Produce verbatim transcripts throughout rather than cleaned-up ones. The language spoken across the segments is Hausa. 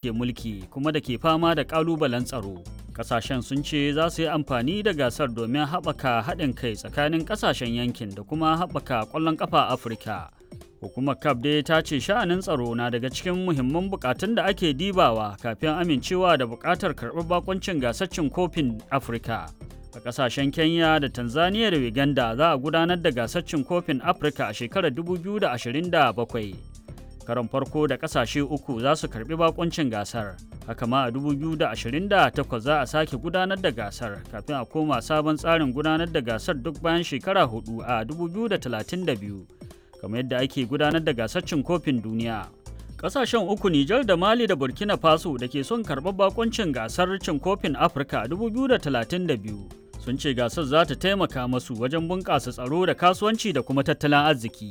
Ke mulki kuma da ke fama da ƙalubalen tsaro. Ƙasashen sun ce za su yi amfani da gasar domin haɓaka haɗin kai tsakanin ƙasashen yankin da kuma haɓaka ƙwallon ƙafa Afirka. Hukumar C A F dai ta ce sha'anin tsaro na daga cikin muhimman buƙatun da ake dibawa kafin amincewa da buƙatar karɓar bakuncin gasar cin kofin Afirka. A ƙasashen Kenya da Tanzania da Uganda za a gudanar da gasar cin kofin Afirka a shekarar dubu biyu da ashirin da bakwai. Karon farko da kasashe uku za su karbi bakuncin gasar. Haka ma a dubu biyu da ashirin da takwas za a sake gudanar da gasar kafin a koma sabon tsarin gudanar da gasar duk bayan shekara hudu a dubu biyu da talatin da biyu, kamar yadda ake gudanar da gasar cin kofin duniya. Kasashen uku, Nijar da Mali da Burkina Faso, da ke son karɓar bakuncin gasar cin kofin Afirka a dubu biyu da talatin da biyu sun ce gasar za ta taimaka masu wajen bunƙasa tsaro da kasuwanci da kuma tattalin arziki.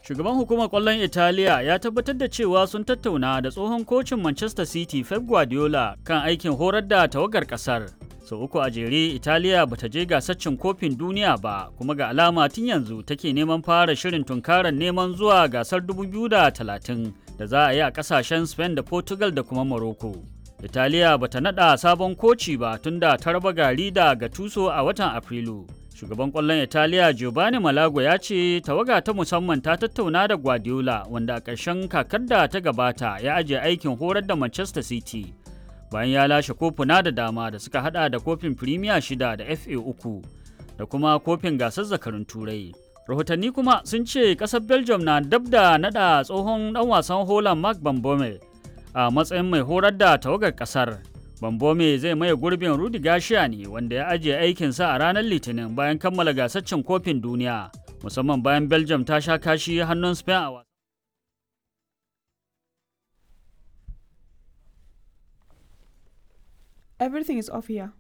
Shugaban hukumar kwallon Italiya ya tabbatar da cewa sun tattauna da tsohon kocin Manchester City Pep Guardiola kan aikin horar da tawagar kasar. Sau uku a jere Italiya bata je gasar cin kofin duniya ba, kuma ga alama tun yanzu take neman fara shirin tunkarar neman zuwa gasar dubu biyu da talatin da za a yi a kasashen Spain da Portugal da kuma Morocco. Italiya bata nada sabon koci ba tunda ta raba gari da Gattuso a watan Afrilu. Shugaban kwallon Italiya Giovanni Malago ya ce tawaga ta musamman ta tattauna da Guardiola, wanda a ƙarshen kakar da ta gabata ya ajiye aikin horar da Manchester City bayan ya lashe kofuna da dama da suka hada da kofin Premier shida da F A uku da kuma kofin gasar zakarun Turai. Rahotanni kuma sun ce ƙasar Belgium na dab da nada tsohon dan wasan Holland Mark van Bommel a matsayin mai horar da tawagar ƙasar. Bambome zai maye gurbin Rudi Garcia ne, wanda ya ajiye aikinsa a ranar Litinin bayan kammala gasar cin kofin duniya, musamman bayan Belgium ta sha kashi hannun Spain a Everything is off here.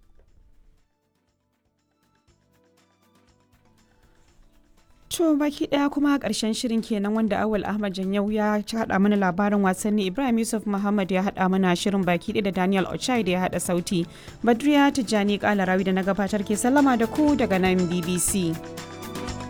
To, baki daya kuma karshen shirin kenan, wanda Awal Ahmad Janyau ya haɗa mana labarin wasanni, Ibrahim Yusuf Muhammad ya haɗa mana shirin baki ɗaya, da Daniel Ochai da ya haɗa sauti. Badriya Tijjani Kalarawi da na gabatar ke sallama da ku daga nan B B C.